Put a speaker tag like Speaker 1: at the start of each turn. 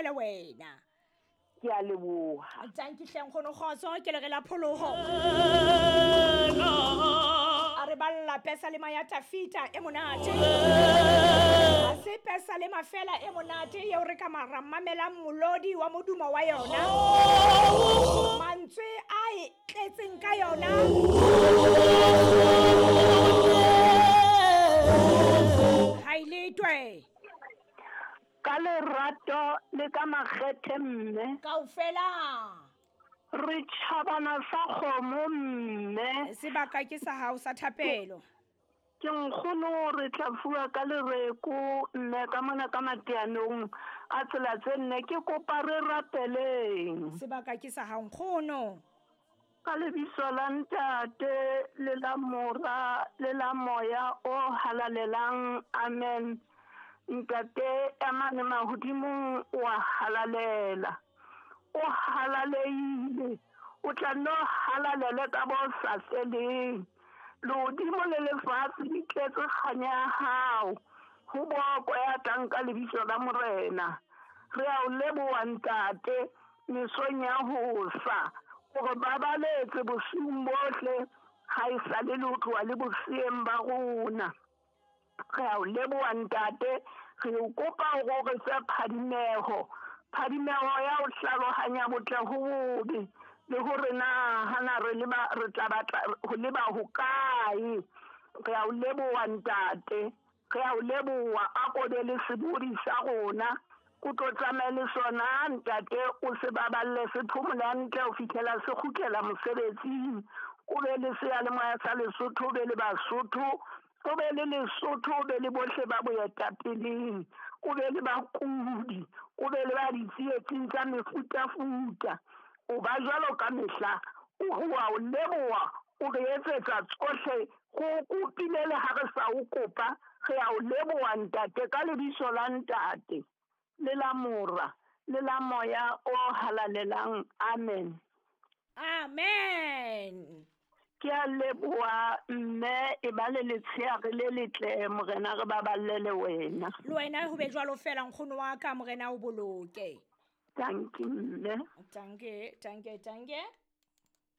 Speaker 1: bolokele wena.
Speaker 2: Ke a leboha.
Speaker 1: Tanki hle nkgono kgotso ke le re la pholoho. A re balla pesalema ya Tafita e monate. Ha se pesalema fela e monate eo re ka mara mamelang molodi wa modumo wa yona. Mantswe a e tletseng ka yona. Ha e letwe.
Speaker 2: Ka lerato le ka makgethe mme.
Speaker 1: Kaofela.
Speaker 2: Re tjhabana sa kgomo mme.
Speaker 1: Sebaka ke sa hao sa thapelo.
Speaker 2: Ke nkgono re tla fuwa ka lereko mme ka mona ka mateanong a tsela tse nne ke kopa re rapeleng.
Speaker 1: Sebaka ke sa hao nkgono.
Speaker 2: Ka lebitso la Ntate le la Mora le la Moya o halalelang, amen. Ntate ya mane mahodimong o a halalela, o halaleile, o tla nno halalele ka bo sa feleng. Lehodimo le lefatshe di tletse kganya ya hao, ho bokwe ya tlang ka lebitso la Morena. Re a o leboha Ntate mesong ya hosa, hore ba baletse bosiung bohle ha e sale le ho tloha le boseyeng ba rona. Re a o leboha Ntate, re o kopa hore o re fe phadimeho, phadimeho ya ho hlalohanya botle ho bobe, le hore na hana re leba re tla batla ho leba hokae. Re a o leboha Ntate, re a o leboha, a ko be le sebodi sa rona, o tlo tsamaye le sona Ntate, o se baballe se phomole hantle ho fihlela se kgutlela mosebetsing. O be le seyalemoya sa Lesotho, o be le Basotho, o be le Lesotho, o be le bohle ba boetapeleng, o be le bakudi, o be le ba ditsietsing tsa mefutafuta. O ba jwalo ka mehla, o wa o leboha, o re etsetsa tsohle, go kopile le ha re sa o kopa. Re a o leboha Ntate ka lebitso la Ntate le la Mora le la Moya o halalelang, amen.
Speaker 1: Amen.
Speaker 2: Ke a leboha mme, e ba le letsheare le letle, Morena re baballe le wena.
Speaker 1: Le wena ho be jwalo fela nkgono wa ka, Morena o boloke.
Speaker 2: Danke mme.
Speaker 1: Danke, danke, danke.